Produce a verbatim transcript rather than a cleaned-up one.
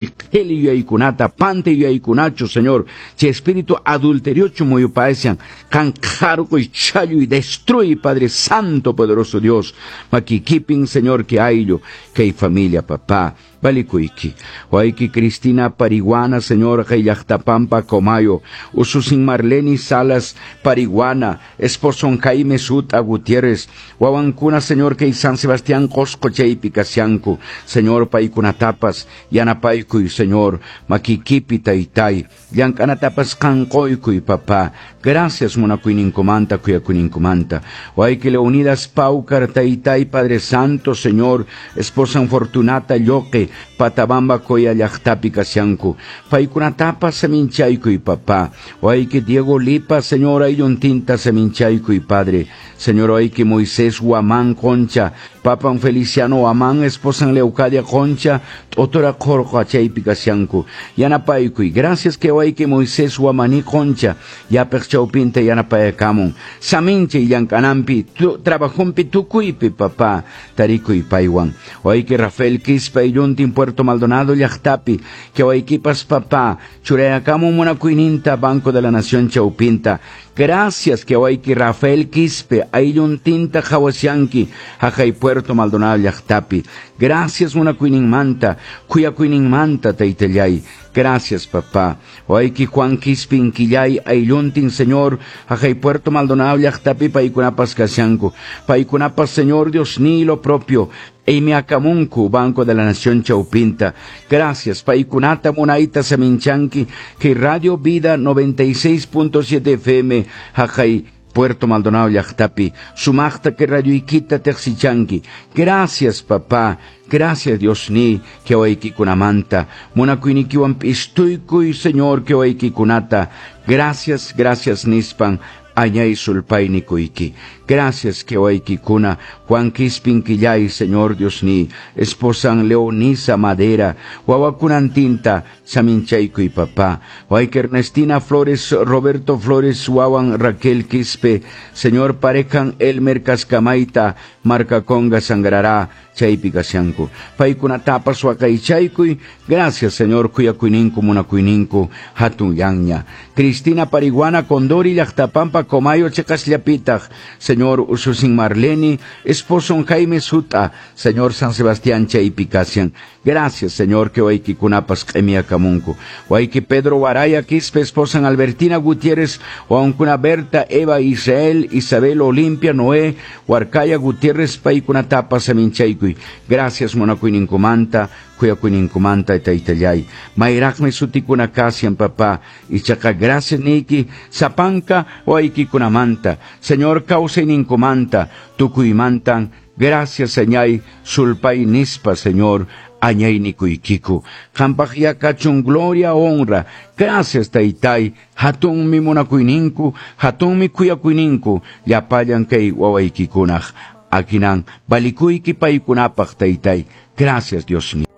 Qhili yuyaykunata, pantay yuyaykunachu, Señor. Chay espíritu adulteriochu muyupaysian, qan qarquy, challuy, destruy, Padre Santo, poderoso Dios. Makikipin, Señor, que ayllu, kay familia, papá. Valikuyki. Wayki Cristina Pariguana, Señor, kay llaqtapampa Comayo. Ususin Marleni Salas Pariguana, esposo Jaime Suta Gutiérrez. Wawankuna, Señor, kay San Sebastián Qosqo chaypi kashanku. Señor, paykunatapas, yanapaykuy, Señor, makikipi taytay. Llank'anatapas qanquykuy, papá. Gracias, munakuyninkumanta, khuyakuyninkumanta. Wayki Leonidas Paucar, taytay, Padre Santo, Señor, esposa Fortunata Lloque, Patabamba Coya llaqtapi kashanku. Paykunatapas saminchaykuy, papá. Wayki Diego Lipa, Señor, aylluntinta saminchaykuy, Padre. Señor, wayki Moisés Huamán Concha, Papan Feliciano Huamán, esposa Leucadia Concha, Otora Qorqa chaypi kashanku. Yanapaykuy. Gracias que wayki Moisés Huamaní Concha, yapaq chawpinta yanapayakamun. Saminchay llank'ananpi, trabajunpi tukuypi, papá, tarikuy paywan. Wayki Rafael Quispe aylluntin Puerto Maldonado llaqtapi, que waykipas papá, churayakamun munakuyninta Banco de la Nación chawpinta. Gracias que wayki Rafael Quispe aylluntinta qhawashanki, haqay Puerto Maldonado llaqtapi. Gracias munakuyninmanta, khuyakuyninmanta taytallay. Gracias, papá. Wayki Juan Quispe inquillay aylluntin, Señor, haqay Puerto Maldonado llaqtapi paykunapas kashanku. Paykunapas, Señor Dios, ni lo propio. Q'imiakamunku, Banco de la Nación chawpinta. Gracias, paykunata munayta saminchanki, que Radio Vida noventa y seis punto siete F M, haqay Puerto Maldonado llaqtapi, sumaqta que radio ikita teqsichanki. Gracias, papá. Gracias, Dios ni, que waykikunamanta. Munakuynikiwan p'istuykuy, Señor, que waykikunata. Gracias, gracias, nispan. Añay sulpaynikuyki. Gracias que waykikuna, Juan Quispin Quillay, Señor Dios ni, esposan Leonisa Madera, wawakunantinta, saminchaykuy papá, wayki Ernestina Flores, Roberto Flores, wawan Raquel Quispe, Señor parejan Elmer Cascamaita, Marca Conga Sangrará, chaypi kashanku. Paykunatapas waqaychaykuy, gracias Señor, khuyakuyninkum munakuyninku, hatun llaqña. Cristina Pariguana Condori llaqtapampa Comayo chiqasllapitaq, Señor ususin Marleni, esposo Jaime Suta, Señor San Sebastián chaypi kashan. Gracias, Señor, que waykikunapas q'imiakamunku. Wayki Pedro Waraya Quispe, esposa Albertina Gutiérrez, wawankuna Berta, Eva, Israel, Isabel, Olimpia, Noé, Huarcaya Gutiérrez, paykunatapas saminchaykuy. Gracias, munakuyninkumanta, khuyakuyninkumanta, taytallay. Mayraqmi sutikuna kashan, papá. Ichaqa gracias niki, sapanka waykikunamanta. Señor, kawsayninkumanta, tukuymantan. Gracias, Señay, sulpay nispa, Señor, añay nikuykiku. Qampaq yakachun gloria, honra. Gracias, taytay. Hatunmi munakuyninku, hatunmi khuyakuyninku, llapallan kay wawaykikunaq. Akinan, valikuyki paykunapaq, taytay. Gracias, Dios mío.